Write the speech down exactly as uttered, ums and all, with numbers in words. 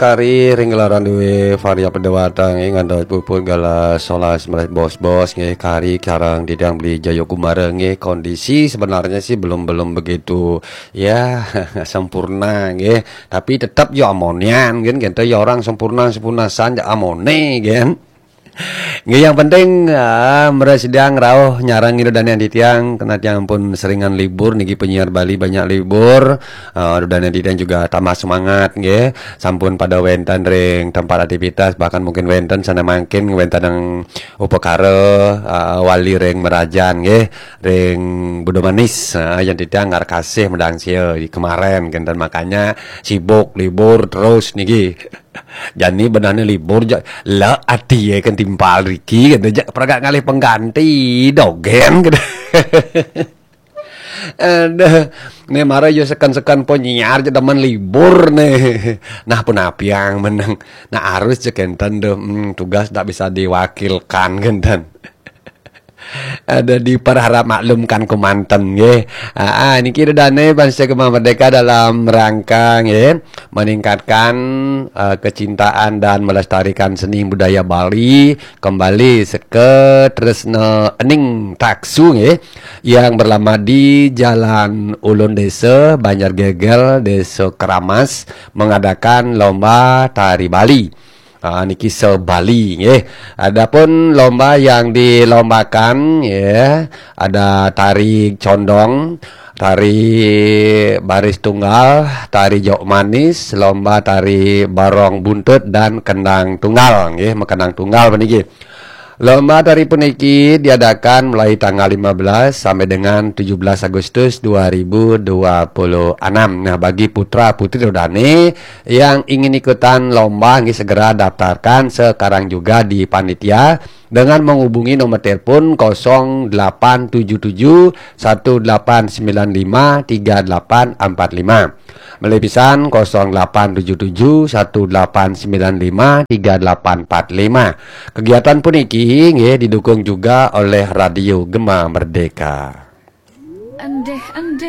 Kari ring gelaran duwe Varia Pedewata nggih, ngantos puput galah solas melas bos-bos nggih, kari sareng titiang Beli Jayakumara nggih. Kondisi sebenarnya sih belum, belum begitu, ya, sempurna nggih, tapi tetap ya amonian nggih, gitu ya, orang sempurna, sempurna san ya amone nggih. Nggih, yang penting, ah, mresidaang rauh nyarengin Ida Dane titiang, karena tiang pun seringan libur niki, penyiar Bali banyak libur. Ah, Ida Dane titiang juga tambah semangat nggih. Sampun pada wenten ring tempat aktivitas, bahkan mungkin wenten sane mangkin wenten yang upakara, ah, wali ring merajan nggih, ring Budo Manis. Ah, yang titiang ngar kasih medang sia di kemaren, kenten makanya sibuk libur terus niki. Jani benane libur ja, la ati ye kan timpal riki, kata ja, pragat ngalih pengganti dogen, kata. Aduh, ne mara yo seken-seken penyiar ja demen libur ne. Nah, pun apiang meneng. Nah, harus je kenten tuh, hmm, tugas tak bisa diwakilkan kenten. Ada diperharap maklumkan kemanten nggih. Ah, ah, niki Ida Dane Bansa Gema Merdeka dalam rangka nggih meningkatkan, eh, kecintaan dan melestarikan seni budaya Bali kembali seke Tresna Ening Taksu nggih, yang berlama di Jalan Ulun Desa, Banjar Gegel, Desa Keramas, mengadakan lomba tari Bali. Ah, niki se-Bali nggih. Adapun lomba yang dilombakan ya, ada tari condong, tari baris tunggal, tari jok manis, lomba tari barong buntut dan kendang tunggal nggih, kendang tunggal puniki. Lomba tari puniki diadakan mulai tanggal lima belas sampai dengan tujuh belas Agustus dua ribu dua puluh enam. Nah, bagi putra putri Ida Dane yang ingin ikutan lomba nggih, segera daftarkan sekarang juga di panitia dengan menghubungi nomor telepon kosong delapan tujuh tujuh satu delapan sembilan lima tiga delapan empat lima. Malih pisan kosong delapan tujuh tujuh satu delapan sembilan lima tiga delapan empat lima. Kegiatan puniki nggih didukung juga oleh Radio Gema Merdeka. Endeh-endeh.